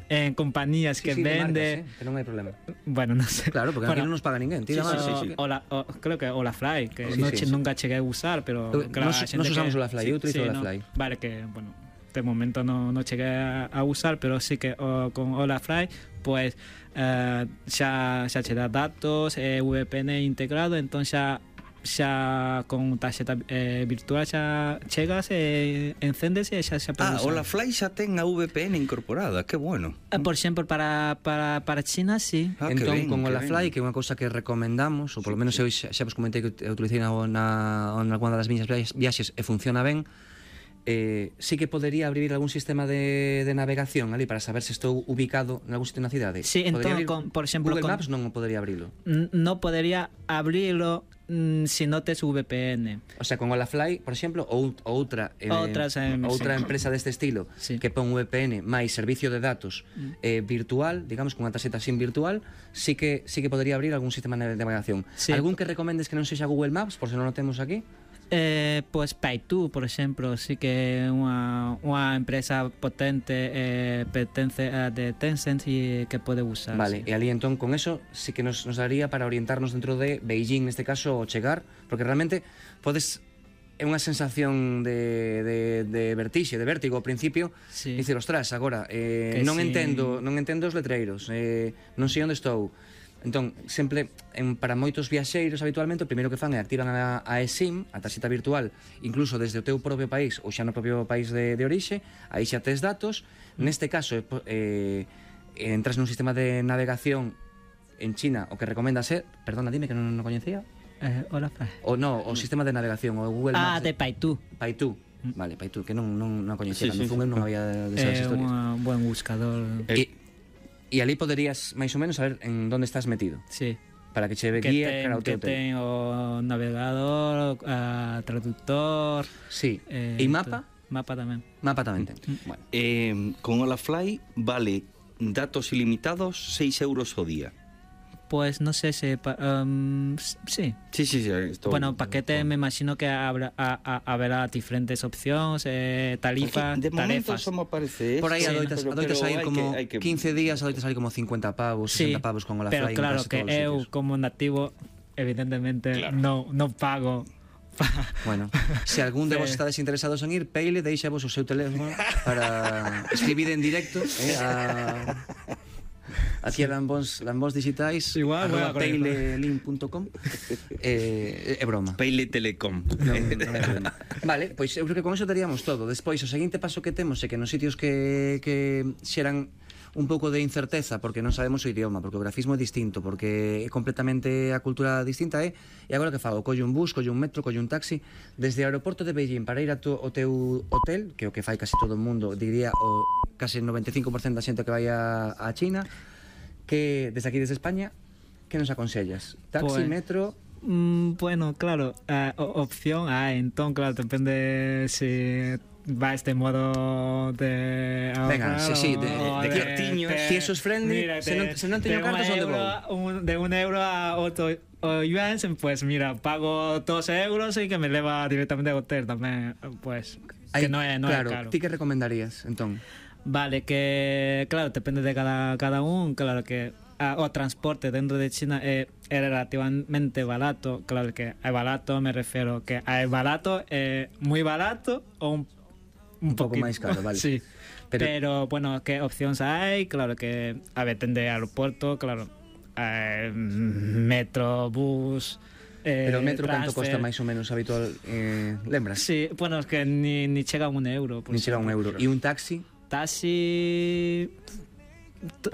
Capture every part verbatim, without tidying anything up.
en compañías Sí, que sí, de vende... marcas, eh, que non hai problema. Bueno, no sé. Claro, porque aquí Bueno, non nos paga ninguén. Tira o, máis, sí, sí. o la, o, creo que Olafly, que Sí, no, sí, che- sí. nunca chegué a usar, pero Eu- claro, nos- a xente nos usamos que- Olafly, eu utilizo Olafly. No, vale, que, bueno, de momento no, no chegué a, a usar, pero sí que o, con Olafly, pues, eh, xa, xa che dá datos, eh, V P N integrado, entón xa xa con tarxeta eh, virtual xa chegas e eh, encendes e xa xa Ah, podes o usar. la Fly xa ten a V P N incorporada, que bueno. Eh, Por exemplo, para, para, para China, sí. Ah, que Entón, ben, con que Olafly, ben. que é unha cousa que recomendamos, ou polo menos eu xa, xa vos comentei que eu utilicei na, na, na alguna das miñas viaxes, viaxes e funciona ben, eh, sí que podería abrir algún sistema de, de navegación ali para saber se estou ubicado en algún sitio na cidade. Sí, entón, Podería abrir- con- por exemplo, Google con- Maps non o podería abrilo. N- No podería abrirlo mm, si no tes V P N. O sea, con Olafly, por exemplo, ou outra eh, Outras, eh, outra sí. empresa deste estilo Sí. que pon V P N máis servicio de datos eh, virtual, digamos, con unha tarxeta SIM virtual, sí que sí que podría abrir algún sistema de navegación. Sí. Algún que recomendes que non sexa Google Maps, por se non o temos aquí? Eh, pues Paitu, por exemplo, sí que é unha, unha empresa potente, eh, pertence a de Tencent e que pode usar. Vale, sí. e ali entón con eso sí que nos, nos daría para orientarnos dentro de Beijing, neste caso, o chegar, porque realmente podes é unha sensación de, de, de vertixe, de vértigo ao principio, Sí. dicir, ostras, agora eh, Que non sí. entendo, non entendo os letreiros, eh, non sei onde estou. Entón, sempre en, para moitos viaxeiros habitualmente o primeiro que fan é activan a, a eSIM, a tarxeta virtual, incluso desde o teu propio país ou xa no propio país de, de orixe, aí xa tes datos. Neste caso eh, entras nun sistema de navegación en China, o que recomenda ser, perdona, dime que non o coñecía. Eh, hola, Fran. O no, o sistema de navegación, o Google Ah, Maps. de Paitu. Paitu. Vale, Paitu, que non non non coñecía, Sí, sí, sí, sí, non había de esas É historias. un buen buscador. E, e ali poderías máis ou menos saber en onde estás metido, Sí. para que che Que guíe ten, cara ao teu que hotel. ten o navegador, a traductor. Sí. eh, E mapa? to- Mapa tamén. Mapa tamén ten. Bueno. Eh, con Olafly vale datos ilimitados seis euros ao día. Pues no sé si... pa- um, s- sí. Sí, sí, sí. Esto, Bueno, paquete me imagino que habrá, a, a, habrá diferentes opcións, eh, tarifas, de momento tarefas. só me aparece Por aí esto, adoitas, pero- adoitas pero sair hai como que- hai que- quince días, adoitas sair como cincuenta pavos, Sí, sesenta pavos con Olafly. pero en claro case que todos os eu sitios. como nativo evidentemente Claro. no, no pago pa- Bueno, se algún de vos Sí. estades interesados en ir, Peile, deixa vos o seu teléfono para escribir en directo eh, a... Aquí a Lambos, Lambos Digitais, Igual, arroba voy a peilelink punto com. eh, é broma. Peile Telecom. Non, non é problema. Vale, pois eu creo que con eso teríamos todo. Despois, o seguinte paso que temos é que nos sitios que, que xeran un pouco de incerteza, porque non sabemos o idioma, porque o grafismo é distinto, porque é completamente a cultura distinta, é e agora que fago? Collo un bus, collo un metro, collo un taxi desde o aeroporto de Beijing para ir a tu, o teu hotel, que é o que fai casi todo o mundo, diría o casi noventa e cinco por ciento da xente que vai a, a China, que desde aquí, desde España, que nos aconsellas? Taxi, Pues- metro... Mm, bueno, claro, eh, o- opción A, entón, claro, depende si va este modo de Venga, ahorrar sí, sí, de- o de que tiños, si eso es friendly, se non- se non teño de cartas, un onde euro, un, de un euro a otro o yuan, pues mira, pago dos euros y que me leva directamente al hotel tamén, pues, Hai- que non é, non claro, é caro. ti que recomendarías, entón? Vale, que claro, depende de cada, cada un, claro que ah, o transporte dentro de China é, é relativamente barato, claro que é barato, me refiero que é barato, é moi barato ou un, Un pouco poquito- máis caro, vale. Sí. Pero- Pero, bueno, que opcións hai? Claro que a ver, ten de aeroporto, claro, eh, metro, bus, eh, Pero o metro canto costa transfer. máis ou menos habitual, eh, lembras? Sí, bueno, es que ni, ni chega a un euro. por Ni chega a un exemplo. euro. E un taxi, Taxi...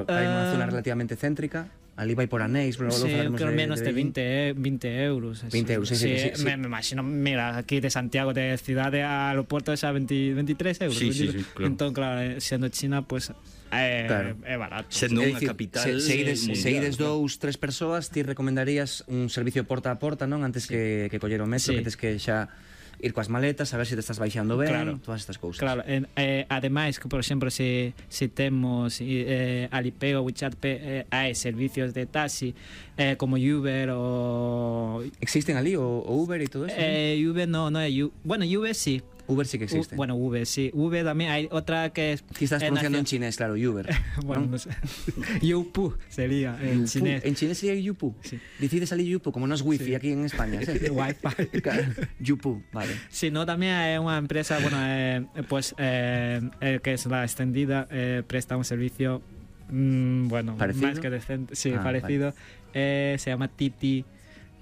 para ir nunha Ah, zona relativamente céntrica, ali vai por anéis, pero logo sí, falaremos creo de, menos de Beijing. veinte, eh, veinte euros. eso. veinte euros, sí, sí, sí, sí. Me, me imagino, mira, aquí de Santiago, de cidade a aeropuerto, esa veinte, veintitrés euros. Sí, sí, sí, claro. Entón, claro, eh, sendo China, pues, é, Claro. é barato. Sendo É unha dicir, capital se, se ides, mundial, se ides claro. dous, tres persoas, ti recomendarías un servicio porta a porta, non? Antes que, que coller o metro, Sí. que tes que xa ir coas maletas, a ver se te estás baixando ben, Claro. todas estas cousas. Claro, en, eh, ademais que, por exemplo, se, se temos eh, Alipay ou WeChat Pay, eh, hai servicios de taxi eh, como Uber ou... Existen ali o, o Uber e todo eso? Eh, Uber no, no é Uber. Bueno, Uber sí. Uber sí que existe. U, bueno, Uber, sí. Uber también hay otra que es... Aquí estás eh, pronunciando en nacio- chinés, claro, Uber. Bueno, ¿no? no sé. Youpu sería en Yupu. chinés. En chinés sería Yupu. Sí. Decide salir Yupu, como no es wifi Sí. aquí en España. ¿sí? Wi-Fi. Claro, Yupu, vale. Si no, también hay una empresa, bueno, eh, pues eh, eh, que es la extendida, eh, presta un servicio, mm, bueno, ¿Parecido? más que decente, sí, Ah, parecido. Eh, se llama Titi.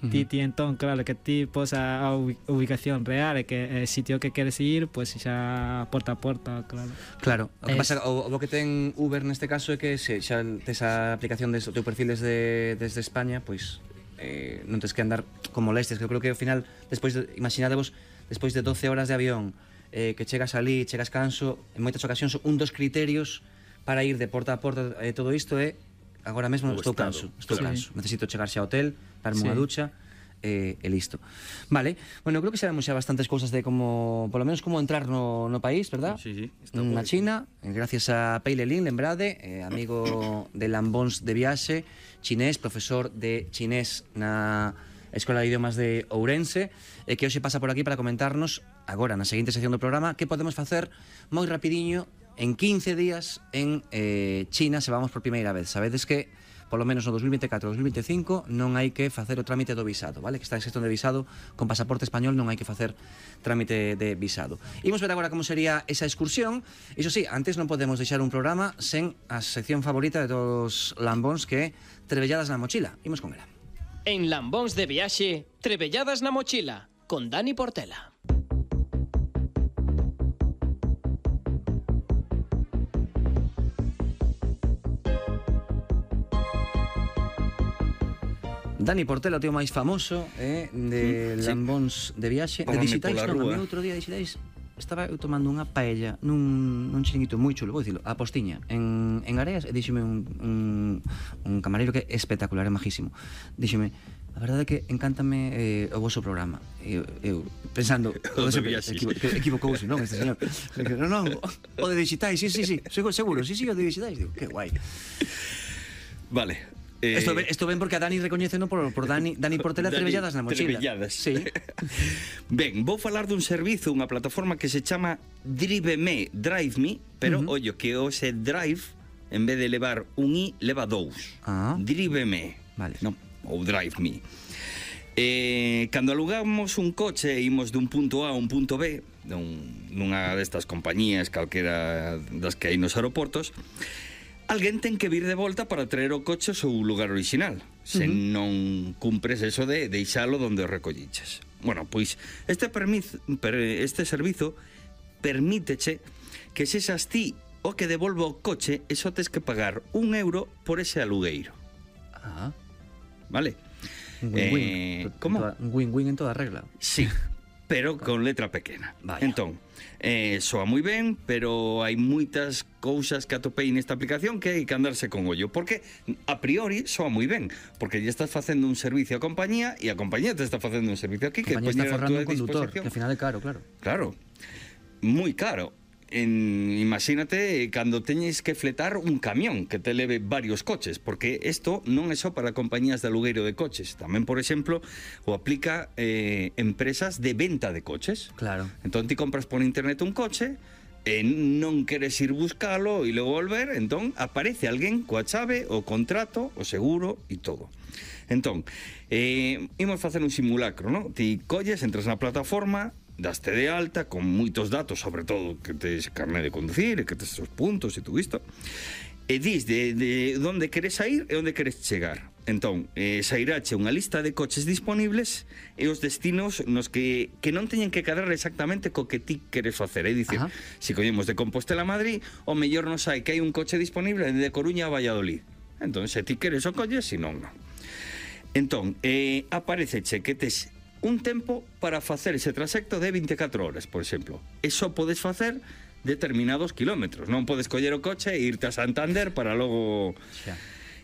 Ujú. Titi, entonces, claro, que ti posa a ubi- ubicación real, e que el sitio que quieres ir, pues xa porta a porta, claro. Claro, o que Es- pasa, o, o que ten Uber neste caso é que se xa tes a aplicación des, o teu perfil desde, desde España, pois eh, non tes que andar con molestias, que eu creo que ao final, despois de, imaginadevos, despois de doce horas de avión, eh, que chegas ali, chegas canso, en moitas ocasións un dos criterios para ir de porta a porta eh, todo isto é agora mesmo O estou estado, canso, estou claro. canso, necesito chegar xa ao hotel, darme unha Sí. ducha, e, e listo. Vale, bueno, creo que sabemos xa bastantes cousas de como, polo menos como entrar no, no país, verdad? Sí, sí, está Na guai. China, eh, gracias a Peile Lin, lembrade, eh, amigo de Lambóns de Viaxe, chinés, profesor de chinés na Escola de Idiomas de Ourense, e que hoxe pasa por aquí para comentarnos, agora na seguinte sección do programa, que podemos facer moi rapidiño en quince días en eh, China se vamos por primeira vez. Sabedes que polo menos no dos mil veinticuatro e dos mil veinticinco non hai que facer o trámite do visado, vale? Que está en xestión de visado con pasaporte español, non hai que facer trámite de visado. Imos ver agora como sería esa excursión. Iso sí, antes non podemos deixar un programa sen a sección favorita de todos os lambóns, que é Trebelladas na mochila. Imos con ela. En Lambóns de Viaxe, Trebelladas na mochila, con Dani Portela. Dani Portela, o tío máis famoso eh, de sí. Lambóns de Viaxe. De Párame digitais, pola non, a rúa. mí outro día digitais estaba eu tomando unha paella nun, nun chiringuito moi chulo, vou dicilo, a Postiña, en, en Areas, e díxeme un, un, un camareiro que é espectacular, é majísimo. Díxeme, a verdade é que encántame eh, o vosso programa. E eu, eu pensando, O de sempre, viaxes. equivo, que equivocouse, non, este señor. Non, non, o de digitais, sí, sí, sí, seguro, seguro, sí, sí, o de digitais. Digo, que guai. Vale. Eh, Esto, ben, esto ben porque a Dani recoñeceno por, por Dani, Dani Portela Dani Trebelladas na mochila. Trebelladas. Sí. Ben, vou falar dun servizo, unha plataforma que se chama Driveme, Drive Me, pero Ujú. ollo que o se drive, en vez de levar un i, leva dous. Ah. Driveme. Vale. Non, ou Drive Me. Eh, cando alugamos un coche e imos dun punto A a un punto B, dun, nunha destas compañías calquera das que hai nos aeroportos, alguén ten que vir de volta para traer o coche ao seu lugar original, se Uh-huh. non cumpres eso de deixalo onde o recolliches. Bueno, pois este permis, per, este servizo permíteche que se xas ti o que devolva o coche e só tes que pagar un euro por ese alugueiro, Ah, vale? un win-win. Eh, En como? toda- Un win-win en toda regla. Sí, pero con letra pequena. Vaya. Entón, eh, soa moi ben, pero hai moitas cousas que atopei nesta aplicación que hai que andarse con ollo, porque a priori soa moi ben, porque lle estás facendo un servicio á compañía e a compañía te está facendo un servicio aquí que Que compañía está poñer a forrando túa un conductor, disposición. que al final é caro, claro. Claro, moi caro. En, imagínate cando teñes que fletar un camión que te leve varios coches, porque isto non é só para compañías de alugueiro de coches, tamén, por exemplo, o aplica eh, empresas de venta de coches. Claro. Entón ti compras por internet un coche e non queres ir buscalo e logo volver, entón aparece alguén coa chave, o contrato, o seguro e todo. Entón, eh, imos facer un simulacro, non? Ti colles, entras na plataforma, daste de alta con moitos datos, sobre todo que tes carné de conducir e que tes os puntos e todo isto, e dis de, de onde queres sair e onde queres chegar. Entón, eh, sairache unha lista de coches disponibles e os destinos nos que, que non teñen que cadrar exactamente co que ti queres facer. É dicir, Ajá. se collemos de Compostela a Madrid, o mellor nos hai que hai un coche disponible de Coruña a Valladolid. Entón, se ti queres o colles, se non, non. Entón, eh, apareceche que tes un tempo para facer ese trasecto de veinticuatro horas, por exemplo. E só podes facer determinados kilómetros. Non podes coller o coche e irte a Santander para logo... Xa.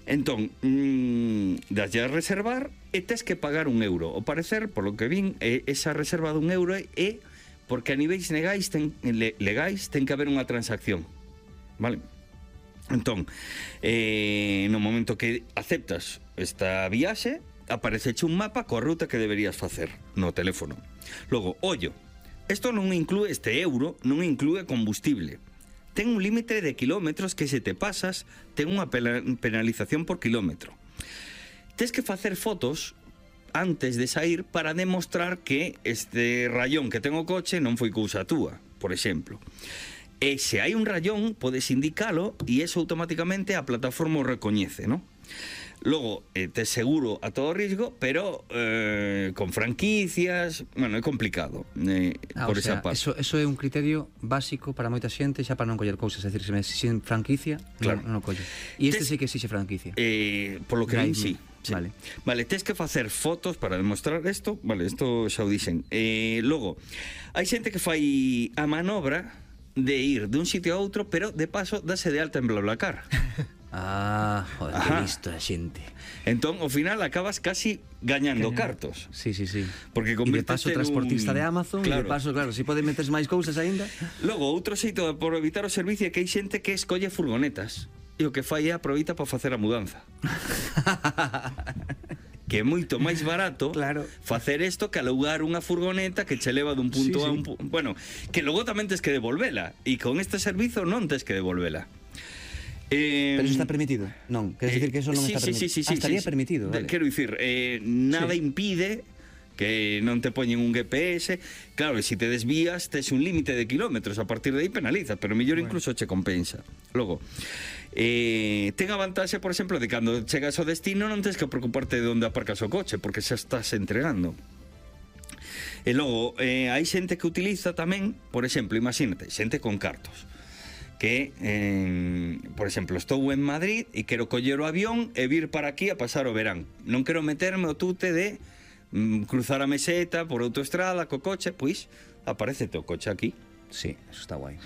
Entón, mmm, daslle a reservar e tes que pagar un euro. O parecer, por lo que vin, eh, esa reserva dun euro é porque a niveis legais ten, le, legais ten que haber unha transacción. Vale? Entón, eh, no momento que aceptas esta viaxe, apareceche un mapa coa ruta que deberías facer no teléfono. Logo, ollo, Isto non inclúe este euro, non inclúe combustible. Ten un límite de kilómetros que se te pasas, ten unha penalización por kilómetro. Tes que facer fotos antes de sair para demostrar que este rayón que ten o coche non foi cousa túa, por exemplo. E se hai un rayón, podes indicalo e eso automáticamente a plataforma o recoñece, non? Logo, eh, te seguro a todo risco, pero eh, con franquicias, bueno, é complicado eh, ah, por o sea, esa parte. Eso, eso é un criterio básico para moita xente xa para non coller cousas, é dicir, se me exixen franquicia, Claro. non, non o collo. E este Tes- sí que exixe franquicia. Eh, por lo que Drive ven, sí. Me. sí. Vale. Vale, tes que facer fotos para demostrar isto. Vale, isto xa o dixen. Eh, logo, hai xente que fai a manobra de ir de un sitio a outro, pero de paso dase de alta en BlaBlaCar. Ah, joder, Ajá. que listo a xente. Entón, ao final acabas casi gañando Gañando. cartos. Sí, sí, sí. Porque E de convírtese paso transportista nun- de Amazon, Claro. e de paso, claro, se pode metes máis cousas aínda. Logo, outro xeito de por evitar o servicio é que hai xente que escolle furgonetas e o que fai é aproveita para facer a mudanza. Que é moito máis barato Claro. facer isto que alugar unha furgoneta que che leva dun punto Sí, a sí. un punto. Bueno, que logo tamén tes que devolvela e con este servizo non tes que devolvela. Eh, Pero eso está permitido? Non, queres dicir que eso non sí, está sí, permitido? sí, sí, ah, sí, estaría sí. permitido, De- vale. Quero dicir, eh, nada Sí. impide que non te poñen un G P S. Claro, e se te desvías tes un límite de kilómetros, a partir de aí penaliza, pero mellor bueno. incluso che compensa. Logo, eh, ten a vantaxe, por exemplo, de cando chegas ao destino non tens que preocuparte de onde aparcas o coche, porque xa estás entregando. E logo, eh, hai xente que utiliza tamén, por exemplo, imagínate, xente con cartos que, eh, por exemplo, estou en Madrid e quero coller o avión e vir para aquí a pasar o verán. Non quero meterme o tute de mm, cruzar a meseta por autoestrada co coche, pois aparecete o coche aquí. Sí, eso está guai.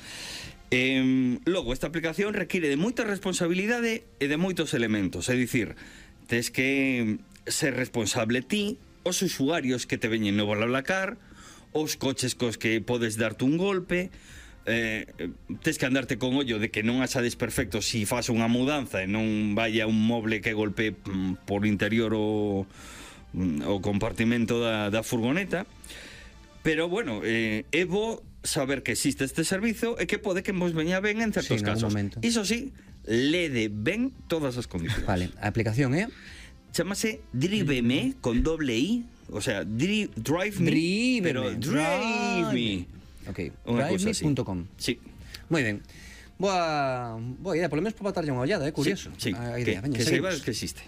Eh, logo, esta aplicación requiere de moita responsabilidade e de moitos elementos. É dicir, tes que ser responsable ti, os usuarios que te veñen no BlaBlaCar, os coches cos que podes darte un golpe, eh, tes que andarte con ollo de que non haxa desperfectos si fas unha mudanza e non vaya un moble que golpe mm, por interior o, mm, o compartimento da, da furgoneta. Pero, bueno, eh, é bo saber que existe este servizo e que pode que vos veña ben en certos Sí, en algún casos. momento. Iso sí, lede ben todas as condicións. Vale, a aplicación é Chámase Driveme con doble I, o sea, dri, Drive Me, Driveme, pero Drive Me. Ok, Unha cousa así. drive me punto com. Sí. Moi ben. Boa, boa idea, polo menos para botarlle unha ollada, é curioso. Sí, sí. A que, idea, veña, que seguimos. saibas que existe.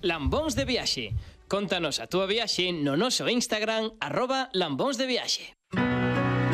Lambóns de viaxe. Contanos a túa viaxe no noso Instagram arroba lambóns de viaxe.